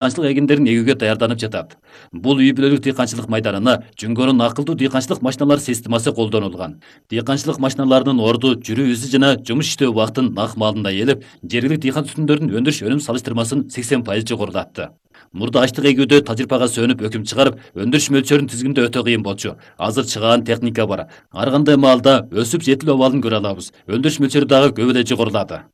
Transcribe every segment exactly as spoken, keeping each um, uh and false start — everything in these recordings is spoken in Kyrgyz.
дыйканчылык эгиндерин эгүүгө даярданып жатат. Бул үй бүлөлүк дыйканчылык майданына Жөнгөнүн акылдуу дыйканчылык машиналар системасы колдонулган. Дыйканчылык машиналарынын орду, жүрүү изи жана жумуш иштөө убактын нак маалында ээлеп, жергиликтүү дыйкан түтүндөрүнүн өндүрүш өнүм салыштырмасын сексен пайыз жогорулатты. Мурда ачлык эгүүдө тажрыйбага сүйөнүп өкүм чыгарып, өндүрүш мөлчөрүн тизгиндөө өтө кыйын болчу. Азыр чыгаан техника бар. Ар кандай маалда өсүп жетилүү абалын көрө алабыз. Өндүрүш мөлчөрү дагы көп эле жогорулады.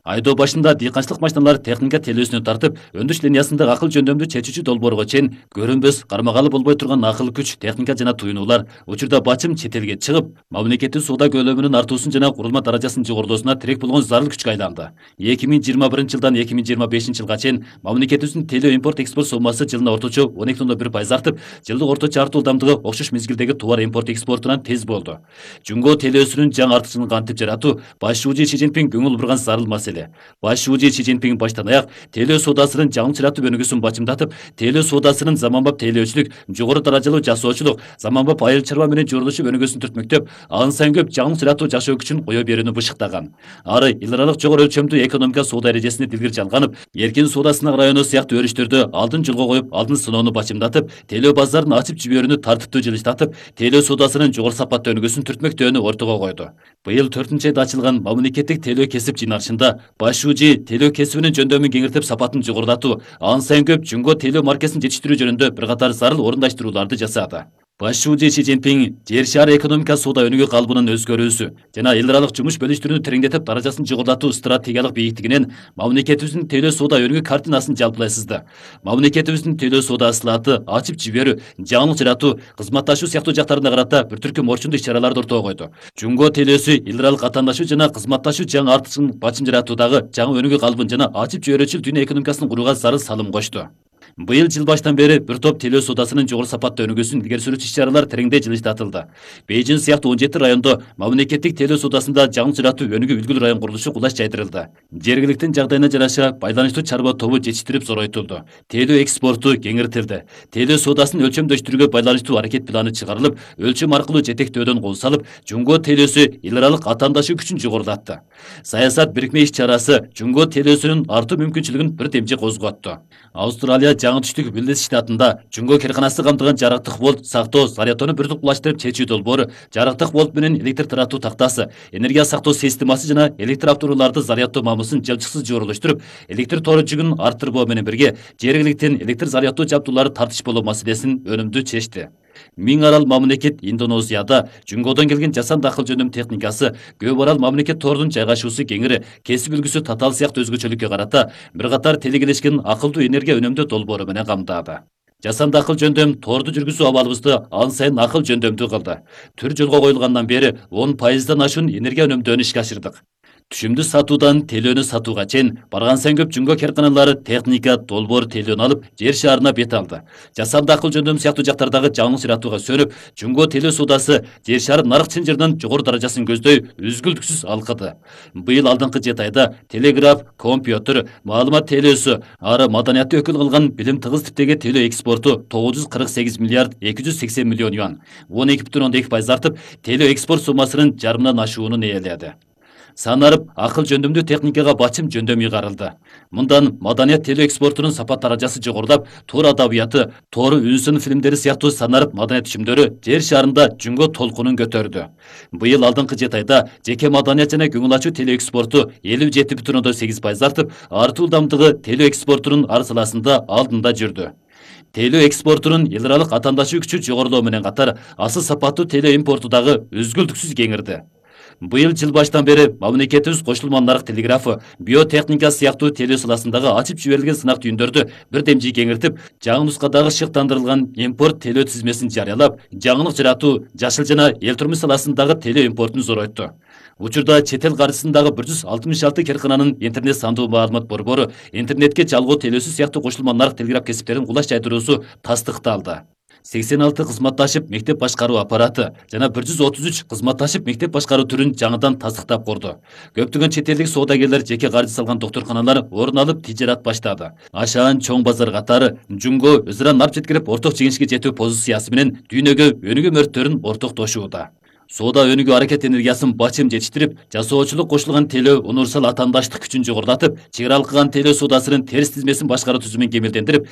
Айдоо башында дыйканчылык машиналары техника телөөсүнө тартып, өндүрүш линиясындагы акыл жөндөмдүү чечүүчү долбоорго чейин көрүнбөс, кармагалы болбой турган акыл күч, техника жана туюнуулар учурда бачым чет элге чыгып, мамлекеттик соода көлөмүнүн артуусун жана курулма даражасынын жогорулоосуна тирек болгон зарыл күчкө айланды. эки миң жыйырма биринчи жылдан эки миң жыйырма бешинчи жылга чейин мамлекетибиздин телөө импорт экспорт соммасы жылына орточо он эки бир пайыз артып, жылдык орточо артуу ылдамдыгы окшош мезгилдеги товар импорт экспортунан тез болду. Жөнгө телөөсүнүн жаңы артыкчылыгын кантип жаратуу баш шүүжү Си Цзиньпин көңүл бурган зарыл маселе. Баш шүүжү Си Цзиньпин баштан аяк телөө соодасынын жаңы чыратуу өнүгүүсүн бачымдатып, телөө соодасынын заманбап тейлөөчүлүк, жогору даражалуу жасоочулук, заманбап айыл чарба менен жордошуп өнүгүүсүн түртмөктөп, ан сайын көп жаңы чыратуу жашоо күчүн кое берүүнү бышыктаган. Ары эл аралык жогору өлчөмдүү экономика соода эрежесине дилгир жалганып, эркин соода сынак району сыяктуу өрүштөрдө алдын жолго коюп, алдын сыноону бачымдатып, телөө базарын ачып жиберүүнү тартиптүү жылыштатып, телөө соодасынын жогору сапаттуу өнүгүүсүн түртмөктөөнү ортого койду. Быйыл төртүнчү айда ачылган мамлекеттик телөө кесип жыйналышында баш шүүжү телөө кесибинин жөндөмүн кеңиртип, сапатын жогорулатуу, ан сайын көп Жөнгө телөө маркесин жетиштирүү жөнүндө бир катар зарыл орундаштырууларды жасады. Баш шүүжү Си Цзиньпин жер шаары экономика соода өнүгүү калыбынын өзгөрүүсү жана эл аралык жумуш бөлүштүрүүнү тереңдетип, даражасын жогорулатуу стратегиялык бийиктигинен мамлекетибиздин телөө соода өнүгүү картинасын жалпылай сызды. Мамлекетибиздин телөө соода ысылаты, ачып жиберүү, жаңылык жаратуу, кызматташуу сыяктуу жактарына карата бир түркүм орчундуу иш-чараларды ортого койду. Жөнгө телөөсү эл аралык катаандашуу жана кызматташуу жаңы артыкчылык бачым жаратуудагы жаңы өнүгүү калыбын жана ачып жиберүүчүл дүйнө экономикасын курууга зарыл салым кошту. Быйыл жыл баштан бери бир топ телөө соодасынын жогору сапаттуу өнүгүүсүн илгери сүрүүчү иш-чаралар тереңдей жылыштатылды. Бейжин сыяктуу он жети райондо мамлекеттик телөө соодасында жаңы чыратуу өнүгүү үлгүлүү район курулушу кулаш жайдырылды. Жергиликтин жагдайына жараша байланыштуу чарба тобу жетиштирип зоройтулду. Телөө экспорту кеңиртилди. Телөө соодасын өлчөмдөштүрүүгө байланыштуу аракет планы чыгарылып, өлчөм аркылуу жетектөөдөн кол салып, Жөнгө телөөсү эл аралык катаандашуу күчүн жогорулатты. Саясат бирикме иш-чарасы Жөнгө телөөсүнүн артуу мүмкүнчүлүгүн бир демчи козготту. Австралия жаңы түштүк Вилдес штатында Жөнгө кырканасы камтыган жарыктык волт сактоо зарядтоону бир тукулаштырып чечүү долбоору, жарыктык волт менен электр таратуу тактасы, энергия сактоо системасы жана электр автоунааларды зарядтоо мамысын жылчыксыз жиберилиштирип, электр тору жүгүн арттырбоо менен бирге жергиликтен электр зарядтоо жабдуулары тартыш болуу маселесин өнүмдүү чечти. Миң арал мамлекет Индонезияда Жөнгөдөн келген жасанды акыл жөндөм техникасы, көп арал мамлекет торунун жайгашуусу кеңири, кесип үлгүсү татаал сыяктуу өзгөчөлүккө карата бир катар телегелешкен акылдуу энергия үнөмдөө долбоору менен камтады. Жасанды акыл жөндөм торду жүргүзүү абалыбызды ан сайын акыл жөндөмдүү кылды. Түр жолго коюлгандан бери он пайыздан ашуун энергия үнөмдөөнү ишке ашырдык. Түшүмдүү сатуудан телөөнү сатууга чейин барган сайын көп Жөнгө карканалары техника, долбоор телөөнү алып, жер шаарына бет алды. Жасанды акыл жөндөм сыяктуу жактардагы жаңылык чыратууга сөнүп, Жөнгө телөө соодасы жер шаар нарык чынжырынан жогору даражасын көздөй үзгүлтүксүз алкыды. Быйыл алдыңкы жети айда телеграф, компьютер, маалымат телөөсү, ары маданиятты өкүл кылган билим тыгыз типтеги телөө экспорту тогуз жүз кырк сегиз миллиард эки жүз сексен миллион юан, он эки бүтүн ондон эки пайыз артып, телөө экспорт суммасынын жарымынан ашуунун ээледи. Санарып, акыл жөндөмдүү техникага бачым жөндөм ыйгарылды. Мындан маданият телөө экспортунун сапат даражасы жогорулап, тор адабияты, тору үнсүн фильмдери сыяктуу санарып маданият түшүмдөрү жер шаарында Жөнгө толкунун көтөрдү. Быйыл алдыңкы жети айда жеке маданият жана көңүл ачуу телөө экспорту элүү жети бүтүн ондон сегиз пайыз артып, артуу ылдамдыгы телөө экспортунун ар саласында алдында жүрдү. Телөө экспортунун эл аралык катаандашуу күчү жогорулоо менен катар, асыл сапаттуу телөө импорту дагы үзгүлтүксүз кеңирди. Быйыл жыл баштан бери мамлекетибиз кошулма нарык телеграфы, биотехника сыяктуу телөө саласындагы ачып жиберилген сынак түйүндөрдү бир демжи кеңиртип, жаңы нускадагы шыктандырылган импорт телөө тизмесин жарыялап, жаңылык жаратуу, жашыл жана эл турмуш саласындагы телөө импортун зоройту. Учурда чет эл каржысындагы бир жүз алтымыш алты керкананын интернет сандуу маалымат борбору, интернетке жалгоо телөөсү сыяктуу кошулма нарык телеграф кесиптерин кулаш жайдыруусу тастыкталды. сексен алты кызматташып мектеп башкаруу аппараты жана бир жүз отуз үч кызматташып мектеп башкаруу түрүн жаңыдан тастыктап курду. Көптөгөн чет элдик соодагерлер жеке каржы салган доктурканалар орун алып тижерат баштады. Ашаан чоң базар катары Жөнгө өзара нарп жеткирип орток жеңишке жетүү позициясы менен дүйнөгө өнүгүү мөрттөрүн ортоктошууда. Соода өнүгүү аракет энергиясын бачым жетиштирип, жасоочулук кошулган телөө универсал атаандаштык күчүн жогорулатып, чек ара алкаган телөө соодасынын терс тизмесин башкаруу түзүмүн кемелдендирип,